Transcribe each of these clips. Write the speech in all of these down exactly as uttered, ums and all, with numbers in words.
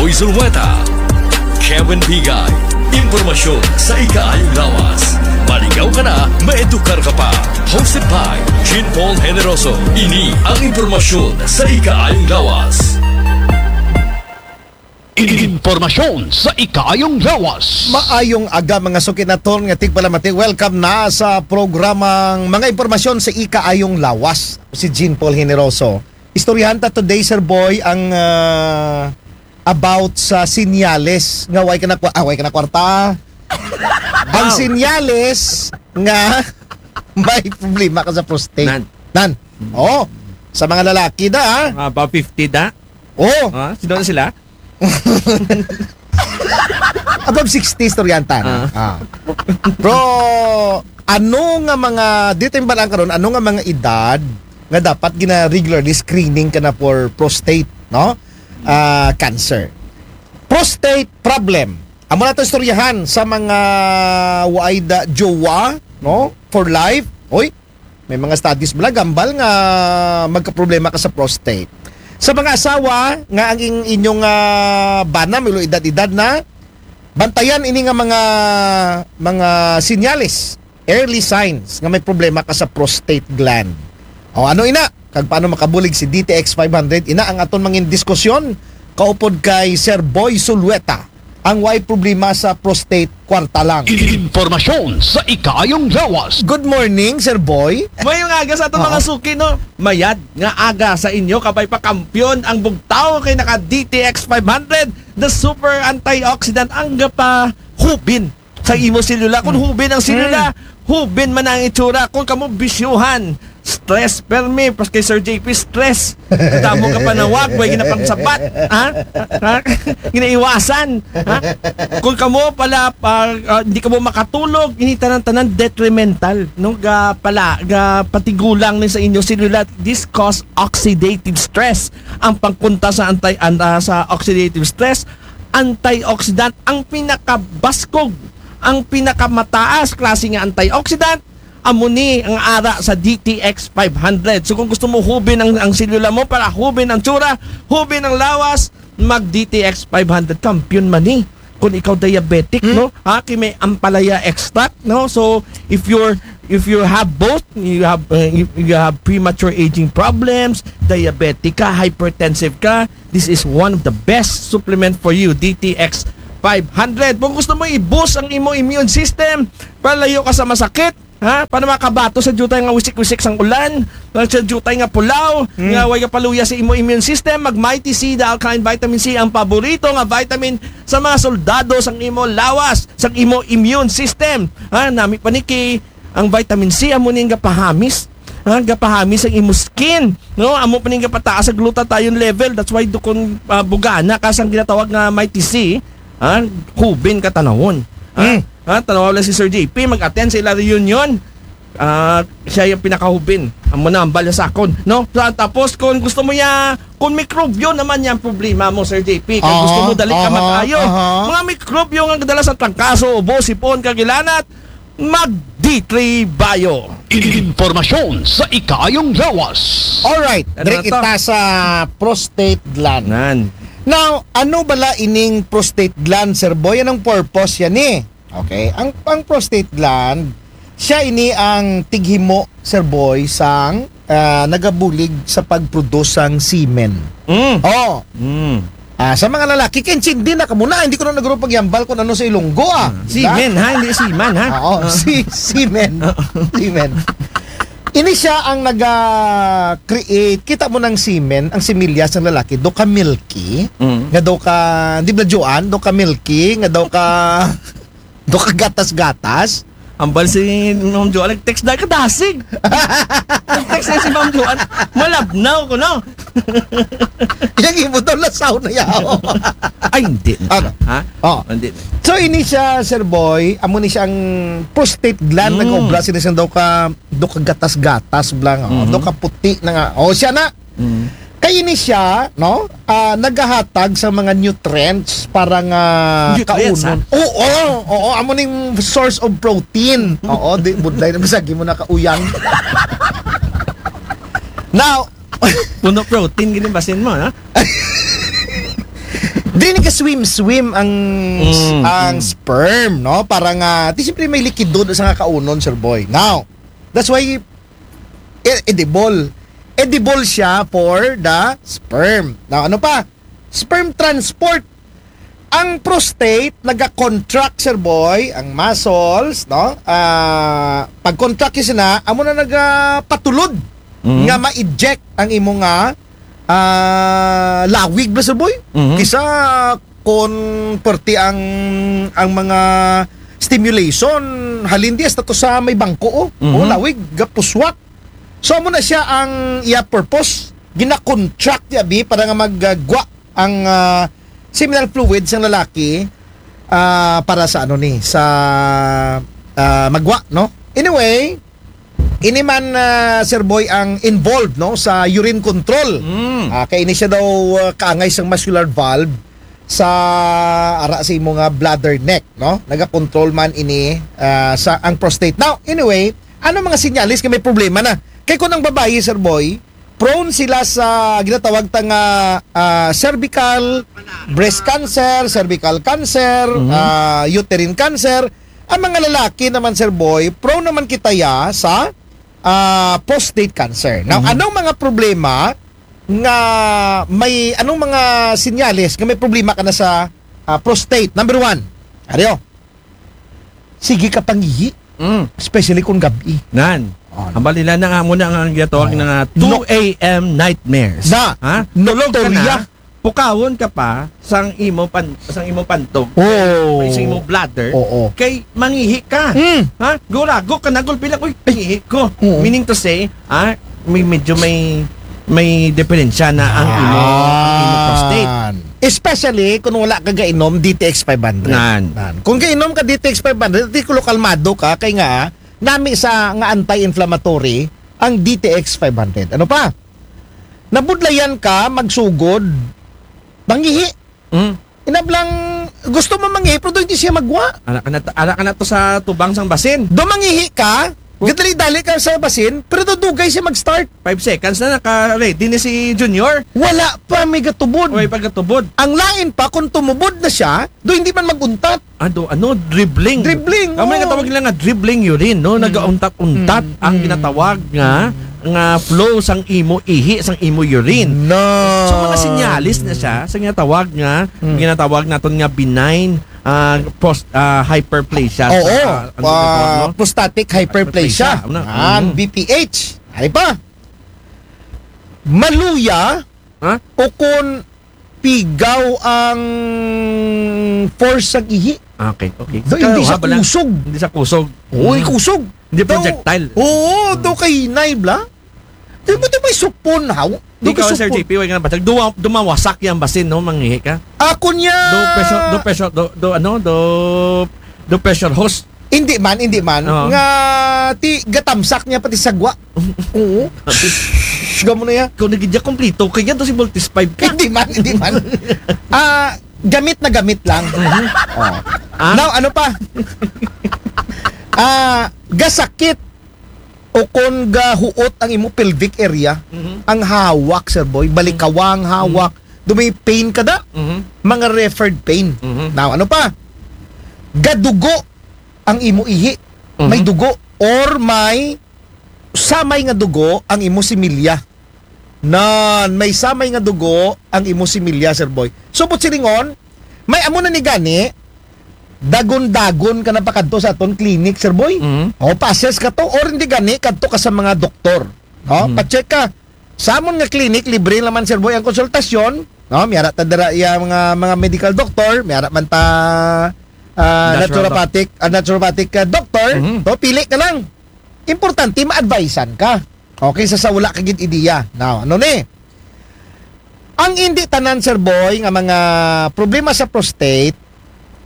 Uy Zulueta, Kevin Pigay. Impormasyon sa ikaayong lawas. Maligaw ka na, maedukar ka pa. Hosted by Jean Paul Generoso. Ini ang impormasyon sa ikaayong lawas. Impormasyon sa ikaayong lawas. Maayong aga, mga suki naton nga tigpalamati. Welcome na sa programang Mga Impormasyon sa Ikaayong Lawas. Si Jean Paul Generoso. Istoryahan ta today, Sir Boy, ang ah, about sa sinyales nga way ka na, kwa- ah, way ka na kwarta. Ang sinyales nga may problema ka sa prostate. Nan. Nan. Oh, sa mga lalaki da, ha? Mga above fifty da? Oh. Ha? Sino na sila? Above sixty, istoryahan ta na. Ah. Ah. Pero, ano nga mga, dito yung balang karon, ano nga mga edad nga dapat gina-regularly screening ka na for prostate, no? Ah, cancer. Prostate problem. Amo na to istoryahan sa mga waay da jowa, no? For life. Oy, may mga studies bala, gambal nga magkaproblema ka sa prostate. Sa mga asawa nga ang ing-, inyong ah, bana, may edad-edad na, bantayan ini nga mga mga sinyales, early signs nga may problema ka sa prostate gland. O ano ina? Kag paano makabulig si D T X five hundred? Ina ang aton mangin diskusyon kaupod kay Sir Boy Sulueta, ang way problema sa prostate, kwarta lang. Impormasyon sa ikaayong lawas. Good morning, Sir Boy. Mayong aga sa aton Oo. mga suki, no? Mayad nga aga sa inyo, kabay pa kampiyon ang bugtaw kay naka D T X five hundred, the super antioxidant, ang gapahubin sa imo selula. Kung Hmm. hubin ang selula, Hmm. hubin man ang itsura. Kung kamo bisyuhan, stress permi, pas kay Sir J P, stress. Damo ka panawag, way ginapangsabat. Ha? Ha? Ginaiwasan. Ha? Kung kamo pala, pa, ah, hindi kamo makatulog, ini tanan-tanan detrimental, no? Ga pala, ga patigulang ni sa inyo selula. This cause oxidative stress. Ang pangkunta sa anti, an-, ah, sa oxidative stress, antioxidant, ang pinakabaskog, ang pinakamataas klase nga antioxidant, amo ni ang ara sa D T X five hundred. So kung gusto mo hubin ang, ang selula mo para hubin ang tsura, hubin ang lawas, mag D T X five hundred, kampiyon man ni. Kung ikaw diabetic, Hmm. no? Ha, kay may ampalaya extract, no? So if you're, if you have both, you have uh, if you have premature aging problems, diabetic ka, hypertensive ka, this is one of the best supplement for you, D T X five hundred. Kung gusto mo i-boost ang imo immune system para layo ka sa masakit, ha? Para makabato sa jutay nga wisik-wisik sang ulan, sa jutay nga pulaw, Hmm. nga way kapaluya sa imo immune system, mag Mighty C, the alkaline vitamin C, ang paborito nga vitamin sa mga soldado sang imo lawas, sang imo immune system. Ha, nami pa ni kay ang vitamin C amo ning gapahamis. Ha, gapahamis ang imo skin, no? Amo pa ning gapataas ang glutathione level. That's why dukon ah, bugana ka sang ginatawag nga Mighty C, ha, hubin ka tanawon. Ha? Hmm. Ha, tanaw lang si Sir J P, mag-attend sa ila reunion. Ah, siya yung pinakahubin. Amo na ang balya sa akon, no? Sa- Tapos kung gusto mo ya, kung mikrobyo naman yung problema mo, Sir J P, kung Oo, gusto mo dali ka aha, mag-ayo. aha. Mga mikrobyo nga kadala sa trangkaso, ubo, sipon, kagilanat, mag D three Bio. Impormasyon sa ikaayong lawas. Alright, Ano break na to? Ita sa prostate gland. Nan. Now, ano bala ining prostate gland, Sir Boy? Anong purpose yan eh? Okay, ang, ang prostate gland, siya ini ang tighimo, Sir Boy, sang ah, nagabulig sa pag-produce sang semen. Mm. Oh, Mm. ah, sa mga lalaki, kay intindi na kamo na, hindi ko na nagro pagyambal kung ano sa Ilonggo, ah. Di ba? Semen, ha? Hindi semen, ha? Oo, Ah. si semen. Oo. Semen. Ini siya ang naga-create. Kita mo ng semen, ang similya sa lalaki, do ka milky, Mm. nga do ka, di ba, Joan? Do ka milky, nga do ka, do ka gatas-gatas. Ambal si Ma'am Joan, nag-text na kadasig. Nag-text na si Ma'am Joan. Malabnaw ko, no? Yang imo daw lasaw na yaw. Ay, hindi. Ano? Ha? Oh. Hindi. So, ini siya, Sir Boy, amo ni siyang prostate gland, Mm. nag-obra sila siyang daw ka, daw ka gatas-gatas, blang, oh. Mhm. Daw ka puti na nga. Oh, siya na. Mm. Kay ini siya, no? Ah, nagahatag sa mga nutrients para nga Nutrients, kaunon. Ha? Oo, oo, amo ning source of protein. Oo, di budlay na bisag mo nakauyang. Now, Puno protein gini basin mo, ha? Dili ka swim-swim ang, Mm, ang mm. sperm, no? Para nga, di siyempre may likido sa nga kaunon, Sir Boy. Now, that's why e- edible. Edible siya for the sperm. Now, ano pa? Sperm transport. Ang prostate, nagacontract, Sir Boy, ang muscles, no? Ah, pag-contract yun sila, amo na nagapatulod Mhm. nga ma-eject ang imo nga ah, lawig ba, Sir Boy? Mhm. Kisa kon perti ang ang mga stimulation, halin di hasta to sa may bangko, oh. Mhm. Oh, lawig, gapuswak. So, amo na siya ang iya purpose. Gina-contract niya, bi, para nga maggwa ang ah, seminal fluids ng lalaki ah, para sa ano ni, sa ah, magwa, no? Anyway, ini man ah, Sir Boy ang involved, no, sa urine control. Mm. Ah, kay ini siya daw ah, kaangay sa muscular valve sa ara sa imo nga bladder neck, no? Nagakontrol man ini ah, sa ang prostate. Now, anyway, ano mga sinyalis nga may problema na? Kay kung ang babayi, Sir Boy, prone sila sa ginatawag ta nga ah, cervical, breast cancer, cervical cancer, Mhm. ah, uterine cancer. Ang mga lalaki naman, Sir Boy, prone naman kita ya sa ah, prostate cancer. Now, Mhm. anong mga problema nga may, anong mga sinyales nga may problema ka na sa ah, prostate? Number one, Ario, sige ka pangihi, Mm. especially kung gabi. Nan. Oh, Ang balila na nga muna ang ginatawag Oh. na nga two a.m. nightmares. Na, Ha? Tulog ka nocturia. Na, pukawon ka pa sang imo pan sang imo pantog. Oh. Sa imo bladder. Oo. Kay mangihi ka. Mm. Ha? Gurago ka na gulpi lang, uy, pangihi ko. Oo. Meaning to say, ha, may medyo may may diferensya na ang imo ang imo prostate. Yan. Especially kung wala ka gainom D T X five hundred. Nan. Nan. Kung gainom ka D T X five hundred, di ko kalmado ka, kay nga, nami sa nga anti-inflammatory ang D T X five hundred. Ano pa? Nabudlayan ka, magsugod, mangihi. Mm. Inablang gusto mo mangihi, pero hindi siya magwa. Ala ka na, ala ka na to sa tubang sang basin. Do mangihi ka, gadali-dali ka sa basin, pero dudugay siya mag-start. Five seconds na naka-ready ni si Junior. Wala pa may gatubod. Way pagkatubod. Ang lain pa, kung tumubod na siya, do hindi man mag-untat. Ano, ano, dribbling. Dribbling, Ang may oo. katawag nila nga dribbling urine, no? Nagauntat-untat Mm, ang mm. ginatawag nga nga flow sang imo ihi, sang imo urine. No. So, mga sinyalis na siya sa ginatawag nga, Mm. ginatawag naton nga benign ah, post, ah, hyperplasia. Oo. Sa, ah, ano Ah, ginatawag, no? prostatic hyperplasia. Hyperplasia, ano? Yan, Mm. B P H. Ano pa? Maluya Ha? o kung pigaw ang force sa ihi. Okay, okay. Do, hindi siya Haba lang. Kusog. Hindi siya kusog. Uy, Mm. kusog. Hindi Daw- projectile. Oo, daw kay hinay, bla. Di mo ito may supon, haw? Di Ikaw, ko Sir supon. J P, way nga ba? Duwa, dumawasak yan basin, no? Mangihi ka. Ako niya. Do pressure, do pressure, do, do ano, do, do pressure hose. Hindi man, hindi man. Oo. Nga, ti, gatamsak niya pati sagwa. Oo. Shhh, gamo na yan. Kung nagidya kompleto, kaya to si Voltis five ka. Hindi man, hindi man. Ah, gamit na gamit lang. Oh. Ah? Now, ano pa? Ah, gasakit o kung gahuot ang imo pelvic area, Mhm. ang hawak, Sir Boy, balikawang hawak, do may pain ka da, Mhm. mga referred pain. Mhm. Now, ano pa? Gadugo ang imo ihi. May Mhm. dugo or may samay nga dugo ang imo similya. Nan, may samay nga dugo ang imo similya, Sir Boy. So, but silingon, may amo na ni gani, dagon-dagon ka na pakadto sa aton clinic, Sir Boy. Mhm. O, pa-assess ka to, or hindi gani, kadto ka sa mga doktor. No? Mhm. Pa-check ka. Sa amon nga clinic, libre naman, Sir Boy, ang konsultasyon. No? Miyara ta dira iya mga, mga medical doctor, miyara man ta ah, Natural naturopathic, ah, naturopathic ah, doctor. Mhm. No? Pili ka lang. Importante, ma-advisean ka. Okay, sa, sa wala ka gid ideya. Now, ano ni? Ang hindi tanan, Sir Boy, nga mga problema sa prostate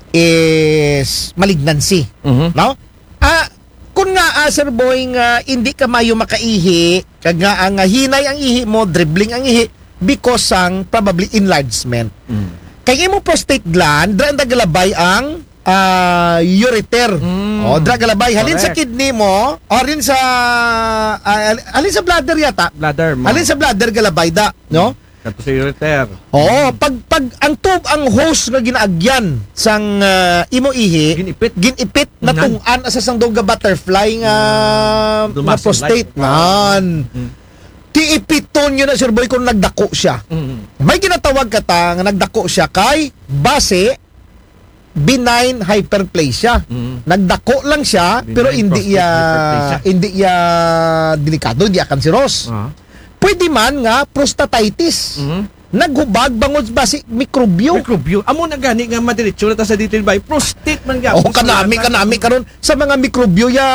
is malignancy. Mhm. No? Ah, kung nga, ah, Sir Boy, nga hindi ka mayo makaihi, kag nga ang, ah, hinay ang ihi mo, dribbling ang ihi, because sang probably enlargement. Mm. Kay imo prostate gland, dra ang galabay ang ah, ureter. Mm. O, dra galabay. Halin sa Correct. Kidney mo, o halin sa, ah, halin sa bladder yata. Bladder mo. Halin sa bladder galabay da, no? Ato sa ureter. Oo, pag pag ang tube, ang hose nga ginaagyan sang ah, imo ihi, Ginipit. ginipit, Ngan? Natung'an asa sang daw nga butterfly nga The nga muscle prostate life. Ngan. Mm. Ti ipiton yun na, Sir Boy, kung nagdako siya. Mm. May ginatawag ka ta nga nagdako siya kay base benign hyperplasia. Mm. Nagdako lang siya, Benign pero hindi prostate iya hyperplasia. hindi iya delikado, hindi iya kanseros. Ah. Pwede man nga prostatitis. Mm. Naghubag bangod basi mikrobyo. Mikrobyo. Amo na gani nga madiretso na ta sa detail by prostate man gyapon. Oh, kanami, kanami karon sa mga mikrobyo ya,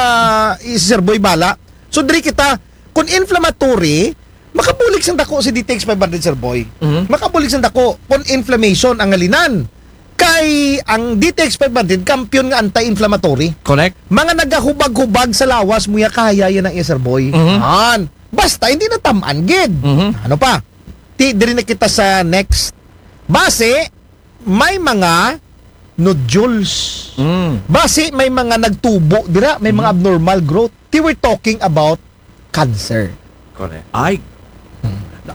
Sir Boy, bala. So diri kita, kung inflammatory, makabulig sang dako si D T X five hundred, Sir Boy. Mhm. Makabulig sang dako kung inflammation ang halinan. Kay ang D T X five hundred, kampiyon nga anti-inflammatory. Correct. Mga nagahubag-hubag sa lawas mo ya, kaya yan ang iya, Sir Boy. Mhm. Han. Basta hindi na tamaan gid. Mhm. Ano pa? Ti, diri na kita sa next. Base, may mga nodules. Mm. Base, may mga nagtubo dira, may mga Mhm. abnormal growth. Ti, we're talking about cancer. Correct. Ay.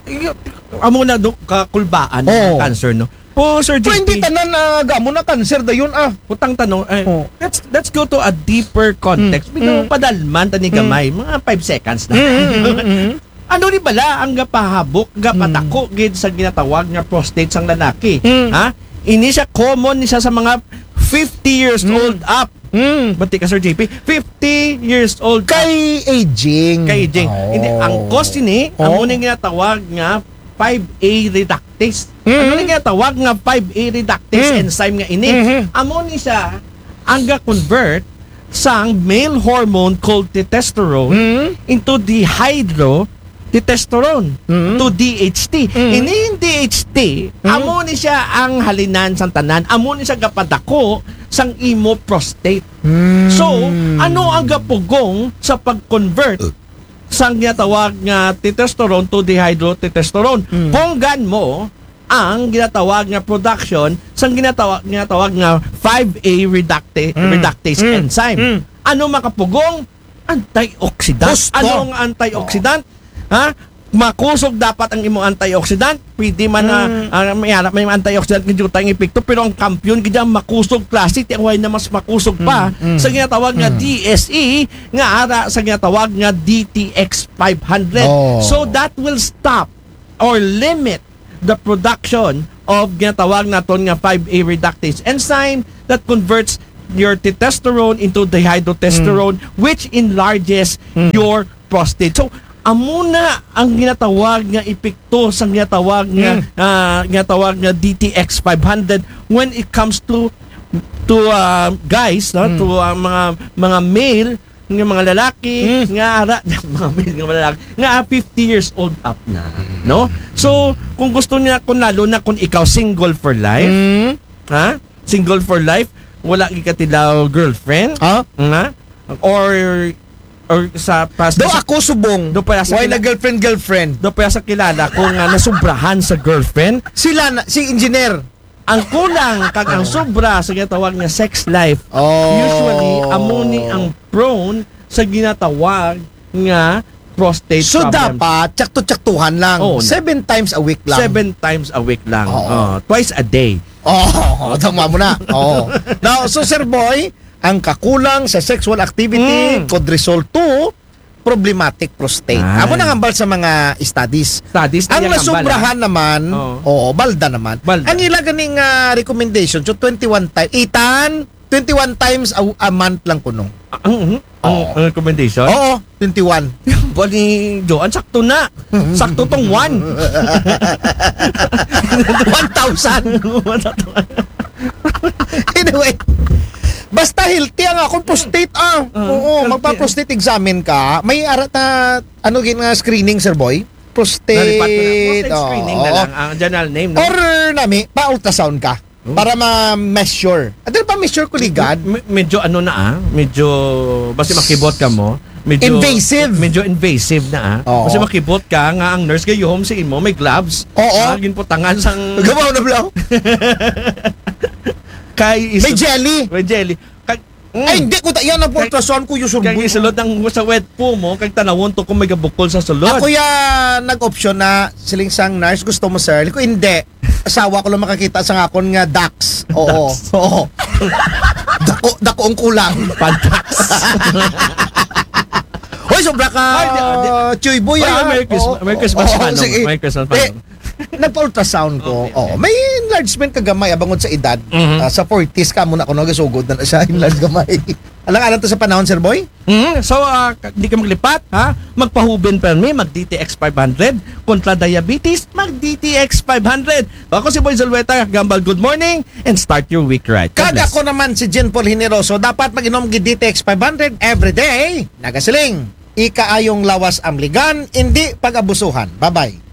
Iyo, amo na do kakulbaan Oo. ng cancer, no? Po, Sir Pero hindi J P. Tanan na gamo na cancer dayon, ah. Utang tanong, eh, Oh. let's let's go to a deeper context. Mm. Medyo Mm. padalman tani Mm. gamay, mga five seconds na. Mm, mm, mm, mm. Ano ni bala ang gapahabok, gapatako gid sa ginatawag nga prostate sang lalaki? Mm. Ha? Ini siya, common ni siya sa mga fifty years Mm. old up. Mm. Bati ka, Sir J P. Fifty years old up. Kay aging. Kay aging. Oh. Hindi, ang cause ini, Oh. amo ni ginatawag nga five A reductase. Mm. Ano ni ginatawag nga five A reductase Mm. enzyme nga ini? Mhm. Amo ni siya ang ga-convert sang male hormone called testosterone Mm. into dehydrotestosterone, Mm. to D H T. Mm. Ini D H T, Mm. amo ni siya ang halinan sang tanan. Amo ni siya gapadako sang imo prostate. Mm. So, ano ang gapugong sa pag-convert sang ginatawag nga testosterone to dehydrotestosterone? Mm. Punggan mo ang ginatawag nga production sang ginatawag, ginatawag nga five A reducta- Mm. reductase Mm. enzyme. Mm. Ano makapugong? Antioxidant. Husto. Anong antioxidant? Ha? Makusog dapat ang imong antioxidant. Pwede man na Mm. ah, may, may antioxidant nga jutay ang epekto, pero ang kampiyon gid ang makusog klase, ti way na mas makusog pa Mm, mm. sa ginatawag nga Mm. D S E, nga ara sa ginatawag nga D T X five hundred. Oh. So that will stop or limit the production of ginatawag naton nga five A reductase enzyme that converts your testosterone into dehydrotestosterone, which enlarges Mm. your prostate. So, amo na ang ginatawag nga epekto sa ginatawag nga Mm. ah, ginatawag nga D T X five hundred when it comes to to ah, guys, no? Mm. To ah, mga mga male, nga mga lalaki, Mm. nga ara, mga male nga mga lalaki, nga ah, fifty years old up na, no? So, kung gusto niya, kung lalo na kung ikaw single for life, Mm. ha? Single for life, wala gid ka tilaw girlfriend, Ha? nga? Or or sa past Do ako subong. Do pa sa Why kila- na girlfriend, girlfriend? Do pa sa kilala ko nga nasubrahan sa girlfriend. Sila na, si engineer. Ang kulang kag ang sobra sa ginatawag nga sex life, Oh. usually amo ni ang prone sa ginatawag nga prostate So problem. Dapat tsakto-tsaktuhan lang. Oo, na. Seven times a week lang. Seven times a week lang. Oo. Oh, twice a day. Oh, tama mo na. Oh. Now, so Sir Boy, ang kakulang sa sexual activity Mm. could result to problematic prostate. Ay. Amo nang hambal sa mga studies. Studies na Ang yung hambal, nasubrahan naman, Oo. oo, balda naman. Balda. Ang ila ganing ah, recommendation, so twenty-one times, itan, twenty-one times a, a month lang kuno. Ah, ang, ang, ang, Oo. ang recommendation? Oo, twenty-one. Bali, Joan, sakto na. Sakto tong one. One thousand. Anyway, basta healthy ang akong prostate, ah. Ah, Oo, healthy. Magpa-prostate examine ka. May ara ta, ano gid nga screening, Sir Boy? Prostate. Nalipat ko na. Prostate screening na Oo. Lang. Ang general name, no? Or nami, pa-ultrasound ka. Oh. Para ma-measure. Adil pa measure ko ligad. Me- medyo ano na ah, medyo basta makibot ka mo. Medyo, Invasive. Medyo invasive na ah. Oo. Kasi makibot ka nga ang nurse gayuhom sa imo may gloves. Oo. Ah, ginputangan sang Gabaw na bla. kay is May jelly. May jelly. Kag Ay, hindi ko ta-, yan ang ultrasound ko, yung Kaya survey. Isulod ang sa wet po mo, kag tanawon to kung may gabukol sa sulod. Ako ya nag-option na, siling sang nurse, "Gusto mo, sir?" Ko, "Hindi. Asawa ko lang makakita sa ngakon nga ducts." Oo. Oo. Dako, dako ang kulang. Pantax. Hoy, sobra ka, Ay, di, di. Chuy Boy, Ay, ah. Merry Christmas, Oo. Merry Christmas, Oo, Manong. sige. Merry Christmas, Eh, Manong. nagpa-ultrasound ko. Okay, Oo, okay. May enlargement ka gamay abangod sa edad. Mhm. Ah, sa forties ka muna ko nagasugod na siya, enlarge gamay. Alang-alang to sa panahon, Sir Boy? Mm, so, ah, ka- di ka maglipat, ha? Magpahubin permi, mag D T X five hundred. Kontra diabetes, mag D T X five hundred. Ako si Boy Zulueta, Gambal, good morning, and start your week right. God Kada bless. Ko naman si Jen Paul Generoso, dapat mag-inom gi D T X five hundred every day. Nagasiling, ikaayong lawas amligan, hindi pag-abusuhan. Bye-bye.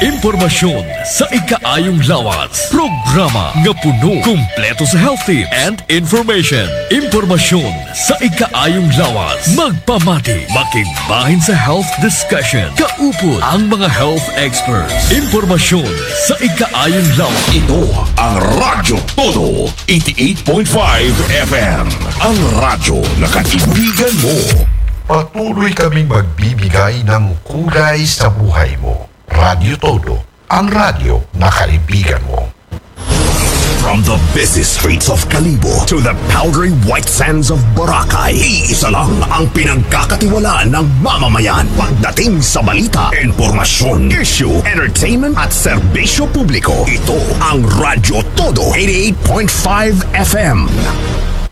Impormasyon sa ikaayong lawas. Programa nga puno, kumpleto sa health tips and information. Impormasyon sa ikaayong lawas. Magpamati, makigbahin sa health discussion. Kaupod ang mga health experts. Impormasyon sa ikaayong lawas. Ito ang Radyo Todo, eighty-eight point five F M. Ang radyo na kaibigan mo. Patuloy kaming magbibigay ng kulay sa buhay mo. Radyo Todo, ang radyo na kaibigan mo. From the busy streets of Kalibo to the powdery white sands of Boracay, iisa lang ang pinagkakatiwalaan ng mamamayan. Pagdating sa balita, impormasyon, issue, entertainment at serbisyo publiko, ito ang Radyo Todo, eighty-eight point five F M.